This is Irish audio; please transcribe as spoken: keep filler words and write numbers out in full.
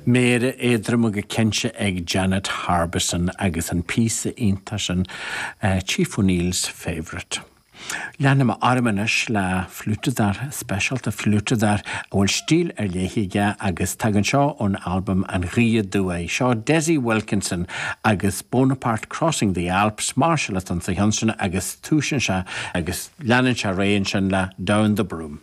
Méara éadrom go cinnte ag Janet Harbison agus an píosa iontach sin uh, Chief O'Neill's Favourite. Leanfaidh mé orm anois le fliútadóir speisialta fliútadóir a bhfuil stíl ar leith aige agus tagann seo ón albam An Ghaoth Aduaidh. Seo Desi Wilkinson agus Bonaparte Crossing the Alps máirseáil an sa cheann sin agus túsann sé agus leanann sé réin sin le Down the Broom.